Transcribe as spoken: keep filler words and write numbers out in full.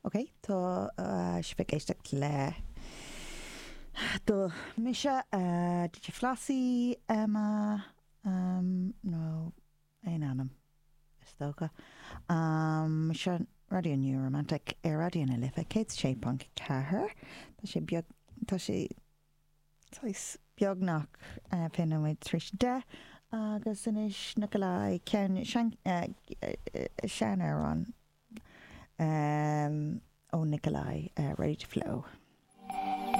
Ok, tá sibh ag éisteacht le do mise D J Flossie, Emma um, nó aon ainm is dócha. Um, seo Raidió New Romantic ar Raidió na Life céad sé ponc ceathair. Tá sé beag tá sé beagnach fiche nóiméad tar éis deich agus anois Nikolai ceann seanamhrán um, ó Nikolai uh, Ready to Flow.